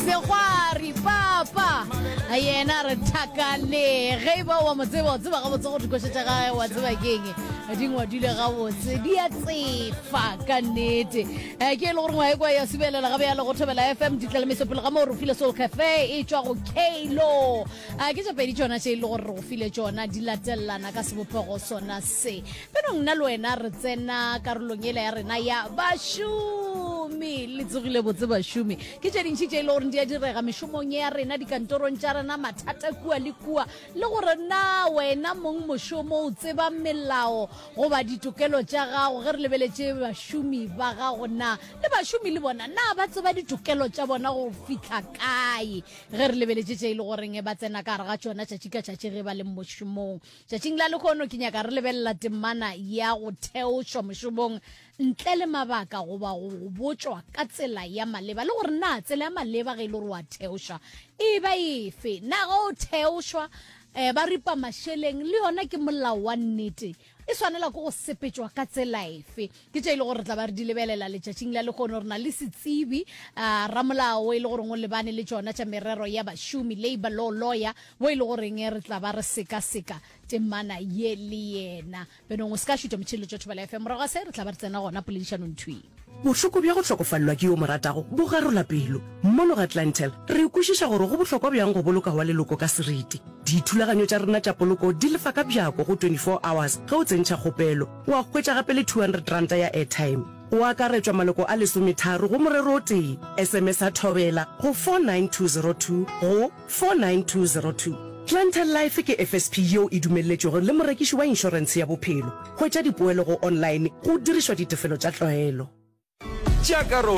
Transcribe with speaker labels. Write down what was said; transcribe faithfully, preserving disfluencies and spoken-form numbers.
Speaker 1: Segwari papa yena re thakale ge e ba wa mo tseba o tseba gabotse gore dikoša tša gage wa tseba keng di ngwadile gabotse di a tsefa ka nnete. Eh, ke e le gore ngwa e kwa ya subelela gabe ya le go Thobela F M ditlalemeso pele ga moo re file Soul Cafe e tšwa go Kalo. A ke tše pedi tšona tše e le gore re go file tšona di latelelana ka sebopego sona se. Penong nna le wena re tsena karolong ela ya rena ya bašomi. Le tsogile botse bašomi. Ke tše dintši tše e le gore di a direga mešomong ya rena, dikantorong tša rena, mathata kua le kua, le gore na wena mong mošomo o tseba melao goba ditokelo tša gago ge re lebeletše bašomi ba gago, na le bašomi le bona na ba tseba ditokelo tša bona go fihla kae ge re lebeletše tše e le goreng ba tsena ka gare ga tšona tšatši ka tšatši ge ba le mošomong. Tšatšing la lekgono ke nyaka re lebelela temana ya go theošwa mošomong ntle le mabaka goba go botšwa ka tsela ya maleba, le gore na tsela ya maleba ge e le gore wa theošwa e ba efe, na ge o theošwa um ba ripa mašeleng le yona ke molao wa nnete, e swanela ke go sepetšwa ka tsela efe. Ke tše e le gore re tla ba re di lebelela letšatšing la lekgono. Re na le setsebi, uh, ramolao e le goreng o lebane le tšona tša merero ya bašomi, labor law lawyer, bo e le goreng re tla ba re sekaseka temana ye le yena. Benong o se ka šuta motšheletšo Thobela F M, morago ga se re tla ba re tsena gona poledišanong thwi.
Speaker 2: Bohloko bja go hlokofalelwa ke yo mo ratago bo garola pelo. Mono ga Clientele re kwešiša gore go bohlokwa bjang go boloka wa leloko ka seriti. Dithulaganyo tša rena tša poloko di lefa ka bjako go twenty-four hours ge o tsentšha kgopelo. Wa hwetša gape le two hundred ranta ya airtime. Go akaretšwa maloko a lesometharo go morero o tee. S M S a Thobela go four nine two zero two go four nine two zero two. Clientele Life ke F S P yeo e dumelletšwego le morekiši wa inšorentshe ya bophelo. Hwetša dipoelo go online go dirišwa ditefelo tša tlwaelo.
Speaker 3: Tšea karolo.